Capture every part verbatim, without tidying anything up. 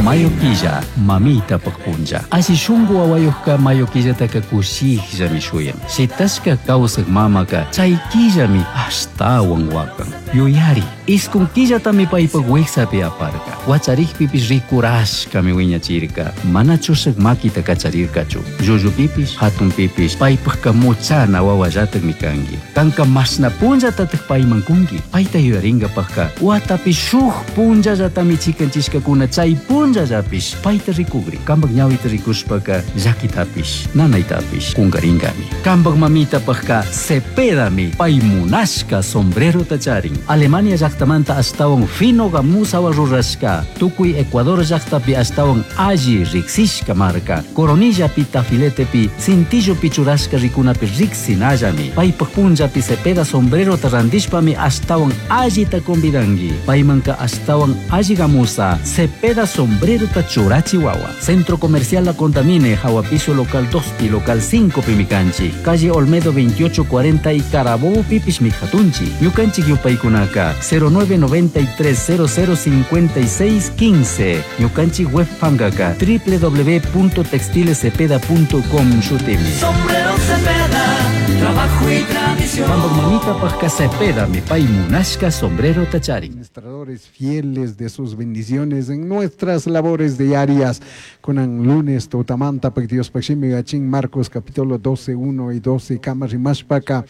Mayo killa, mamitapaq punlla. Alli shunku wawayuqka mayo killataka kushikllami shuyan. Shitashka kawsaq mamaka chay killami ashtawan wakan. Yuyari, iskun killatami paypaq wiksapi aparka. Wacharikpipish rikurashkami wiñachirka. Mana chushak makita kacharirkachu. Llullupipish, hatunpipish paypaqka muchana wawallatakmi kanki. Kanka mashna punllatataq payman kunki. Payta yuyarinkapaqka watapi shuk punllallatami chikanchishkakuna chay punllallapish payta rikugri. Kampak ñawita rikushpaka llakitapish, nanaytapish kunkarinkami. Kampak mamitapaqka Cepedami pay munashka sombrerota charin. Alemania llaqtamanta ashtawan fino gamusawan rurashka. Tukuy Ecuador llaqtapi ashtawan alli riksishka marka. Coronillapi tafiletepi cintillopi churashka rikunapi riksinallami. Paypaq punllapi Cepeda sombrerota rantishpami ashtawan allita convidanki. Paymanka ashtawan alli gamusa Cepeda sombrerota churachi wawa. Centro Comercial La Contamine, Jawa Piso Local dos pi Local cinco pi mikanchi. Calle Olmedo veintiocho cuarenta y Carabobo pipish mijatunchi. Ñukanchik yupaykunaka cero nueve noventa y tres cero cero cincuenta y seis quince. Ñukanchik web pankaka doble u doble u doble u punto textiles cepeda punto com shutimi. Sombrero Cepeda, trabajo y tradición. Kampak mamita pajka Cepeda, mi pay munashka sombrero tacharin. Administradores fieles de sus bendiciones en nuestras labores diarias. Kunan lunes tutamanta pak Dios pakshimi gachin Marcos capítulo doce, uno y doce, kama rimashpaka,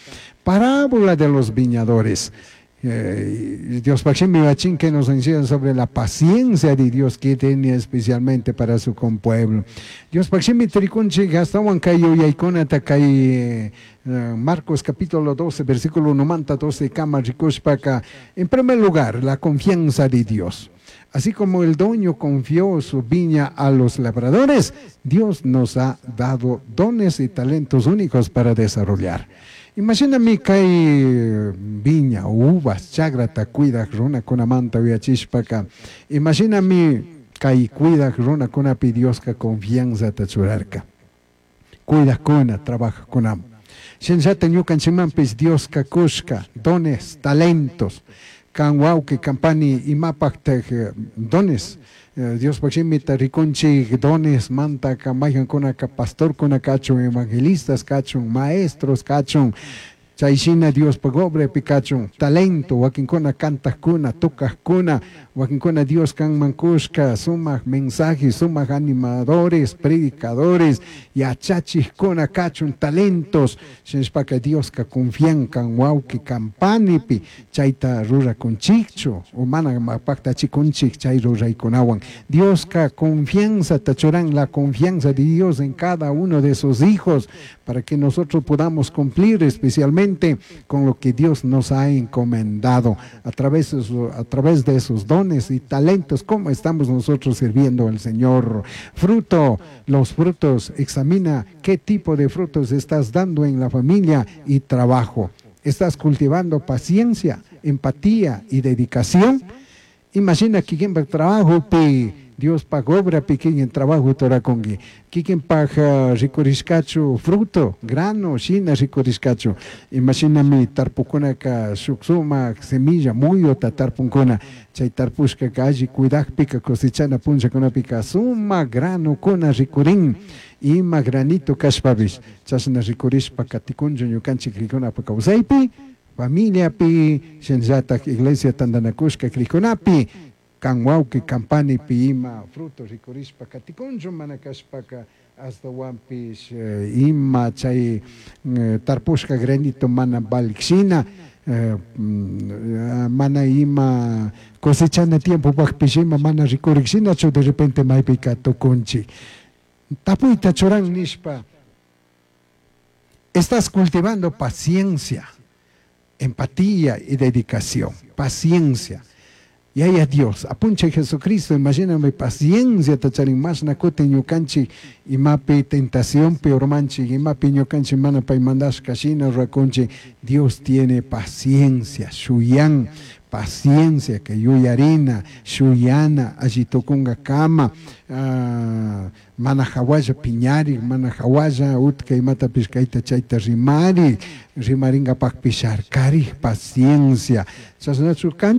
parábola de los viñadores. Eh, Dios pakshimi gachin que nos enseña sobre la paciencia de Dios que tiene especialmente para su compueblo. Dios pakshimi trikunchi gastawan kayo yaikuna takay, eh, Marcos capítulo doce, versículo uno manta doce, kama rikushpaka. En primer lugar, la confianza de Dios. Así como el dueño confió su viña a los labradores, Dios nos ha dado dones y talentos únicos para desarrollar. Imagíname que hay viña, uvas, chagrata, cuida, runa con amanta, uyachishpaka. Imagíname que hay cuida, runa con api, Dios que confianza te churarca. Cuida con, trabaja con am. Shenshata ñukanchimanpis Dios kakushka, dones, talentos. Kan wauki, kampani, imapaktaj dones. Eh, Dios pakshimita rikunchik dones, manta, kamayhan kuna ka pastor kuna kachun, evangelistas kachun, maestros kachun. Chayshina Dios pagobre pikachun, talento, wakinkuna kantajkuna, tocajkuna, wakinkuna Dios kan mankushka, sumaq mensajes, sumaq animadores, predicadores, yachachijkuna kachun, talentos, shinashpaka Dios ka confian kan wawki kampanipi, chayta rurakunchikchu, o mana mapaktachikunchik chay ruraykunawan. Dios ka confianza tachuran, la confianza de Dios en cada uno de sus hijos, para que nosotros podamos cumplir especialmente con lo que Dios nos ha encomendado a través de su, a través de sus dones y talentos, cómo estamos nosotros sirviendo al Señor. Fruto, los frutos, examina qué tipo de frutos estás dando en la familia y trabajo. ¿Estás cultivando paciencia, empatía y dedicación? Imagina que quien va trabajo, pi, Dios paga obra pequeña en trabajo toracongi. Kikin paja ricuriscacho fruto, grano, shina ricuriscacho. Imagíname tarpukuna ka shuksuma semilla muyota tarpunkuna. Chay tarpushka ka alli cuidakpika cosechana puncha kunapika suma grano kuna ricurin. Ima granito kashpabish. Chashna ricurishpa katikunchu ñukanchik rikunapa kawsaypi, familiapi, shinllatak iglesia tandanakushka krikunapi. Kan wawki kampani pi ima fruto rikurishpa katikunchu mana kashpaka hasta wampish, eh, ima chay, eh, tarpushka granito mana valikshina, eh, mm, mana ima cosechana tiempo pakpish ima mana rikurikshinachu de repente maypika tukunchik. Tapuyta churan nishpa, estás cultivando paciencia, empatía y dedicación. Paciencia. Y ahí a Dios, apunche Jesucristo, imagíname paciencia, tacharin más nacote ñucanchi, imapi tentación peor manchi, imapi ñucanchi mana pay mandash kashina raconchi. Dios tiene paciencia, shuyan, paciencia, que yuyarina, shuyana, allitokunga kama, ah, mana hawaya piñari, mana hawaya utka imata pishkaita chayta rimari, rimaringa pak pisharkari, paciencia. Chasnachu kan